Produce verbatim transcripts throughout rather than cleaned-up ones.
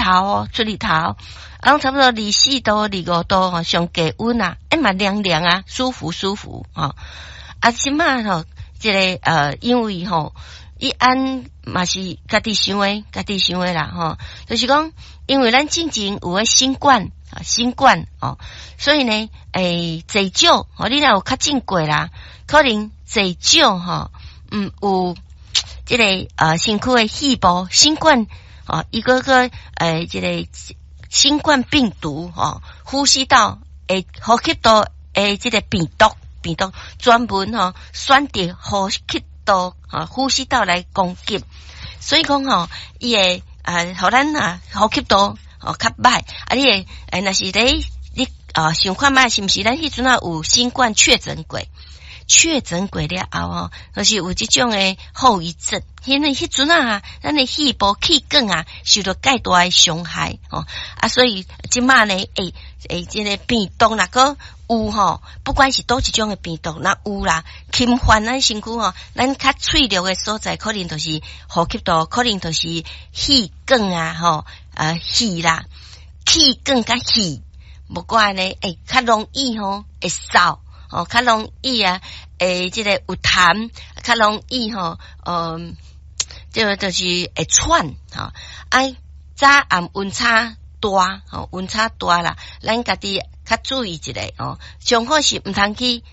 頭哦，出日頭，啊，攏差不多二四度、二五度吼，上低溫啊，欸嘛涼涼啊，舒服舒服吼。啊，這馬吼，這个呃，因為吼，伊按嘛是家己想的，家己想的啦吼，就是講，因為咱進前有個新冠啊，新冠哦，所以呢，欸，濟少吼，你若有確診過啦，可能濟少吼，嗯，有這个呃身軀的細胞新冠哦，一個個欸，這个新冠病毒吼，呼吸道會呼吸道的這个病毒，病毒專門吼選擇呼吸道啊呼吸道來攻擊，所以講吼，伊會啊，予咱啊呼吸道哦較歹，啊，你會欸，若是咧你啊想看覓是毋是咱彼陣啊有新冠確診過？確診過了後吼，就是有這種的後遺症。因為彼陣啊，咱的肺部氣管啊受著蓋大的傷害吼啊，所以這馬呢，欸欸，這个病毒若閣有吼，不管是佗一種的病毒，若有啦，侵犯咱身軀吼，咱較脆弱的所在，可能就是呼吸道，可能就是氣管啊，吼啊肺啦，氣管佮肺，無怪呢，欸，較容易吼會嗽。哦，較容易啊，會這个有痰，較容易吼，嗯，這个就是會喘，吼，啊，早暗溫差大，吼，溫差大啦，咱家己較注意一下哦。上好是毋通去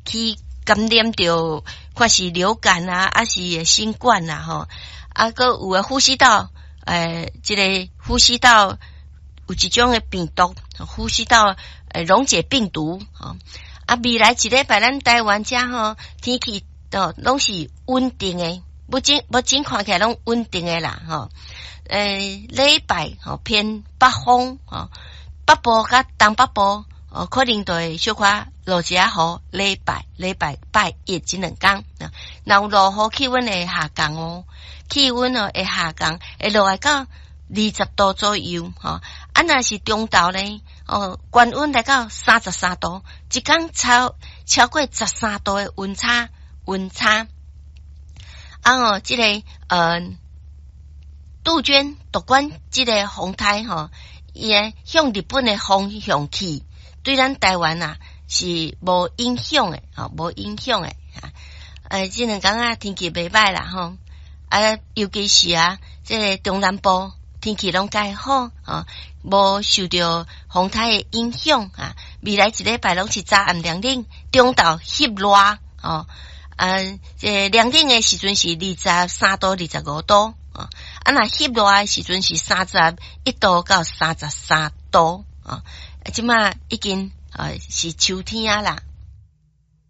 去感染著，看是流感啊，抑是新冠啊，吼，啊，閣有的呼吸道，欸，這个呼吸道有一種的病毒，呼吸道欸溶解病毒，吼。啊，未來一禮拜咱台灣遮吼天氣都攏是穩定的，目前目前看起來攏穩定的啦，吼。欸，禮拜吼偏北風吼，北部佮東北部哦，可能就會小可落一下雨。禮拜禮拜拜一這兩工，若有落雨，氣溫會下降哦，氣溫哦會下降，會落來到二十度左右，吼。啊，若是中晝咧，哦，高溫來到三十三度，一工超超過十三度的溫差，溫差。啊哦，這個呃，杜鵑獨管這个風颱吼，伊會向日本的方向去，對咱台灣啊是無影響的，吼，無影響的。呃，這兩工啊天氣袂䆀啦，吼，啊，尤其是啊，這个中南部天氣攏較好，吼，無受著風颱的影響啊。未來一禮拜攏是早暗涼冷，中晝翕熱，吼，啊，這個涼冷的時陣是二十三度、二十五度，啊，若翕熱的時陣是三十一度到三十三度，啊，這馬已經啊是秋天啊啦。